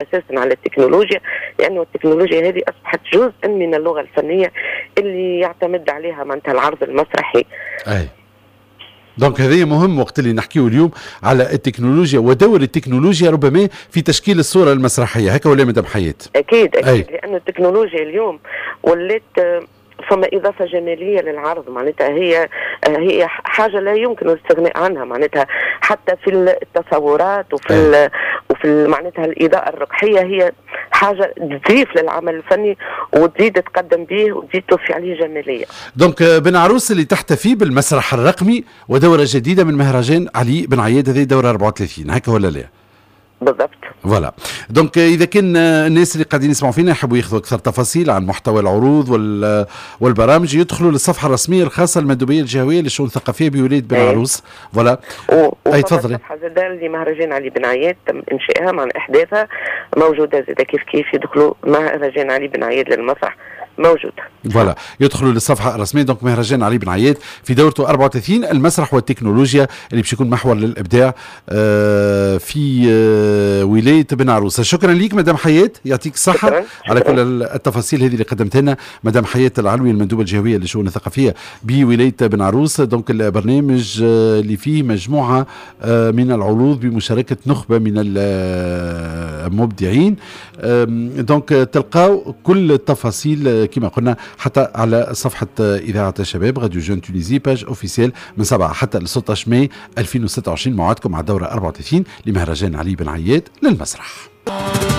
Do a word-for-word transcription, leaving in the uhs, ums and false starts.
اساسا على التكنولوجيا، لانه التكنولوجيا هذه اصبحت جزء من اللغة الفنية اللي يعتمد عليها معناتها العرض المسرحي. اي، donc هذا مهم وقت اللي نحكيه اليوم على التكنولوجيا ودور التكنولوجيا ربما في تشكيل الصورة المسرحيه، هكا ولا مدام حياة؟ اكيد اكيد، أي. لأن التكنولوجيا اليوم ولات فما اضافه جمالية للعرض، معناتها هي هي حاجة لا يمكن الاستغناء عنها، معناتها حتى في التصورات وفي وفي معناتها الاضاءة الركحيه هي حاجة تضيف للعمل الفني وتزيد تقدم به وتزيد تضفي عليه جماليه. donc بن عروس اللي تحتفي بالمسرح الرقمي ودوره جديدة من مهرجان علي بن عياد، هذه دوره أربعة وثلاثين، هكا ولا لا؟ بالضبط. voilà، donc اذا كان الناس اللي قاعدين يسمعوا فينا يحبوا ياخذوا اكثر تفاصيل عن محتوى العروض والبرامج يدخلوا للصفحه الرسمية الخاصة للمندوبيه الجهوية للشؤون الثقافية بولاية بن إيه. عروس، voilà. اي تفضلي. الصفحة زاد لمهرجان علي بن عياد تم انشائها مع احداثها موجودة زاد كيف كيف، يدخلوا مهرجان علي بن عياد للمسرح موجودة. voilà، يدخلوا للصفحه الرسميه. donc مهرجان علي بن عياد في دورته أربعة وثلاثين، المسرح والتكنولوجيا اللي باش يكون محور للابداع آه، في آه، ولاية بن عروسه. شكرا لك مدام حياة، يعطيك الصحة شكرا. على كل التفاصيل هذه اللي قدمتها لنا مدام حياة العلوي، المندوبه الجهوية للشؤون الثقافية بولاية بن عروس. donc البرنامج آه، اللي فيه مجموعة من العروض بمشاركة نخبة من المبدعين. donc تلقاو كل التفاصيل كما قلنا حتى على صفحة إذاعة الشباب radio Jeune Tunisie، page officielle، من سبعة حتى ل ستة عشر ماي ألفين وستة وعشرين موعدكم مع الدورة أربعة وثلاثين لمهرجان علي بن عياد للمسرح.